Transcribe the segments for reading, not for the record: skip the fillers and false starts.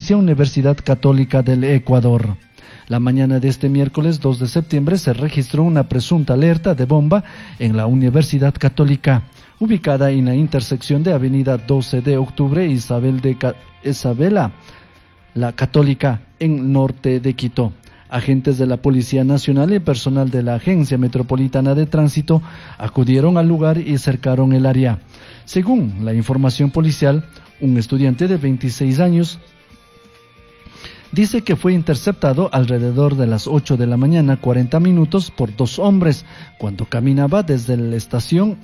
Pontificia Universidad Católica del Ecuador. La mañana de este miércoles 2 de septiembre se registró una presunta alerta de bomba en la Universidad Católica, ubicada en la intersección de Avenida 12 de Octubre e Isabela la Católica en norte de Quito. Agentes de la Policía Nacional y personal de la Agencia Metropolitana de Tránsito acudieron al lugar y cercaron el área. Según la información policial, un estudiante de 26 años dice que fue interceptado alrededor de las 8 de la mañana 40 minutos por dos hombres cuando caminaba desde la estación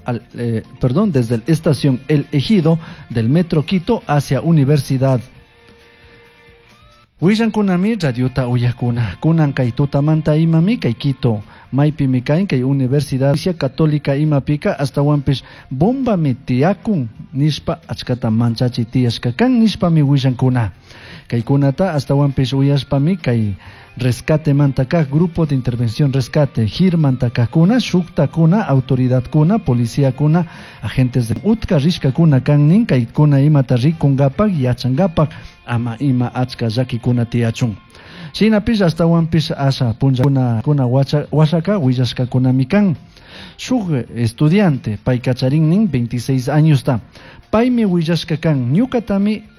desde la estación El Ejido del Metro Quito hacia Universidad. Willankunami radiota uyakuna, kunan kay tutamanta imami kay Quito, maypimi kain kay Universidad Católica imapika astawanpish bombami tiyakun nishpa achkata manchachi tiyashka kan nishpami willankuna. Kaykunata astawanpish uyashpami kay rescate manta kaq grupo de intervención rescate GIR mantakakuna shuktakuna autoridadkuna policiakuna agentes de utka rishkakuna kan nin kaykuna imata rikunkapak yachankapak ama ima achka llakikuna tiyachun. Shinapish astawanpish asha punllakuna kuna washaka willashkakunami kan. Shuk estudiante payka charin nin 26 añosta paymi willashka kan ñukatami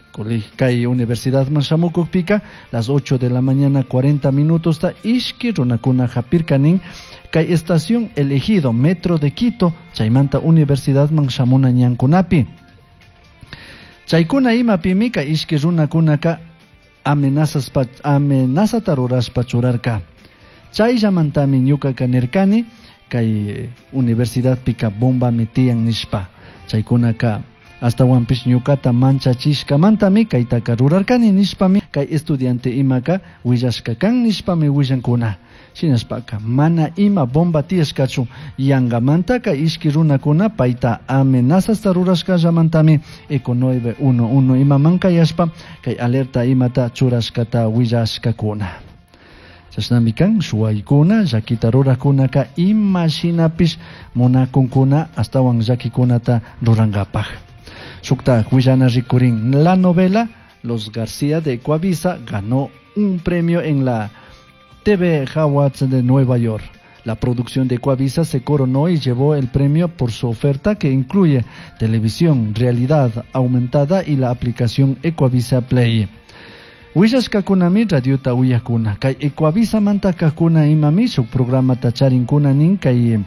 kay universidadman shamukukpika las 8 de la mañana 40 minutos ta ishki runakuna hapirka nin kay estación El Ejido Metro de Quito chaymanta universidadman shamuna ñankunapi. Chaykuna imapimi kay ishki runakunaka amenazata rurashpa churarka. Chayllamantami ñukaka nirkani kay universidadpika bombami tiyan nishpa. Chaykunaka astawanpish ñukata manchachishkamantami kaytaka rurarkani nishpami kay estudiante imaka willashka kan nishpami willankuna. Shinashpaka mana ima bomba tiyashkachu yangamanta kay ishki runakuna payta amenazasta rurashkallamantami Eco 911 imaman kayashpa kay alerta imata churashkata willashkakuna. Chashnami kan shuwaykuna llakita rurakunaka ima shinapish munakunkuna astawan llakikunata rurankapak. Shukta willana rikurin la novela Los García de Ecuavisa ganó un premio en la TV Awards de Nueva York. La producción de Ecuavisa se coronó y llevó el premio por su oferta que incluye televisión, realidad aumentada y la aplicación Ecuavisa Play. Willashkakunami radiota uyakuna. Kay Ecuavisa mantakakuna imami shuk programata charinkuna nin kay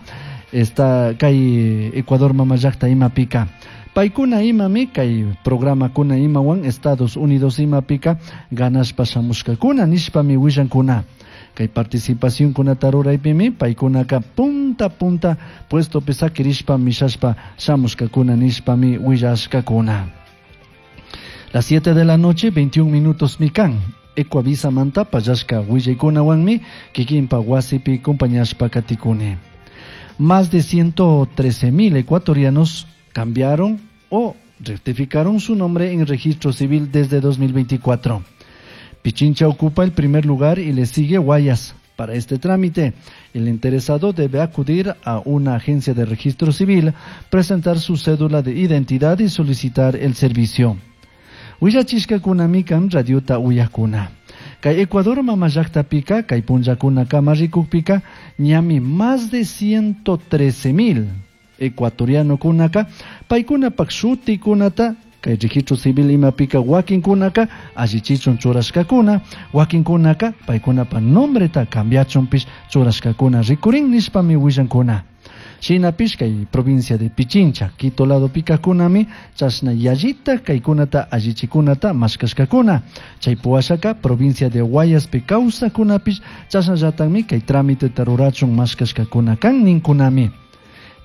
esta kay Ecuador mamallakta imapika. Paykuna imami kay programakuna imawan Estados Unidos imapika ganashpa shamushkakuna nishpami willankuna. Kay participación kunata ruraypimi paykunaka punta punta puestopi sakirishpa mishashpa shamushkakuna nishpami willashkakuna. Las 7 de la noche, 21 minutos mikan. Ecuavisa manta pallashka willaykunawanmi kikinpa wasipi compañashpa katikuni. Más de 113.000 ecuatorianos cambiaron o rectificaron su nombre en registro civil desde 2024. Pichincha ocupa el primer lugar y le sigue Guayas. Para este trámite, el interesado debe acudir a una agencia de registro civil, presentar su cédula de identidad y solicitar el servicio. Willachishkakunami kan radiota uyakuna. Kay Ecuador mamallakta-pika, kay punllakuna kama rikukpika, ñami más de 113.000 ecuatorianokunaka, paykunapak shutikunata, kay registro civil imapika wakinkunaka, allichichun churashkakuna, wakinkunaka, paykunapa nombreta cambiachunpish churashkakuna rikurin nishpami willankuna. Shinapish kay provincia de Pichincha, Quito lado pikakunami, chashna yallita kaykunata allichikunata mashkashkakuna. Chay puwashaka provincia de Guayaspi kawsakunapish, chashnallatakmi kay trámite rurachun mashkashkakuna kan ninkunami.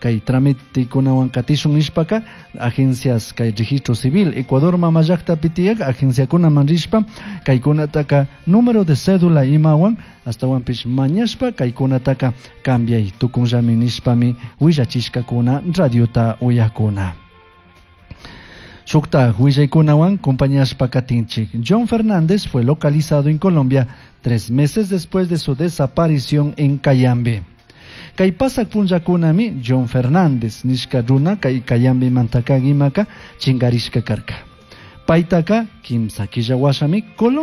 Kay trámitekunawan katishun nishpaka agencias kay registro civil Ecuador mamallaktapi tiyak agenciakunaman rishpa kaykunataka número de cédula imawan astawanpish mañashpa kaykunataka cambiay tukunllami nishpami willachishkakuna radiota uyakuna. Shukta willaykunawan compañashpa katinchik. John Fernández fue localizado en Colombia 3 meses después de su desaparición en Cayambe. Kay pasak punllakunami John Fernández nishka runa kay Cayambe mantakag imaka chingarishka karka. Paytaka kimsa killa washami Colombia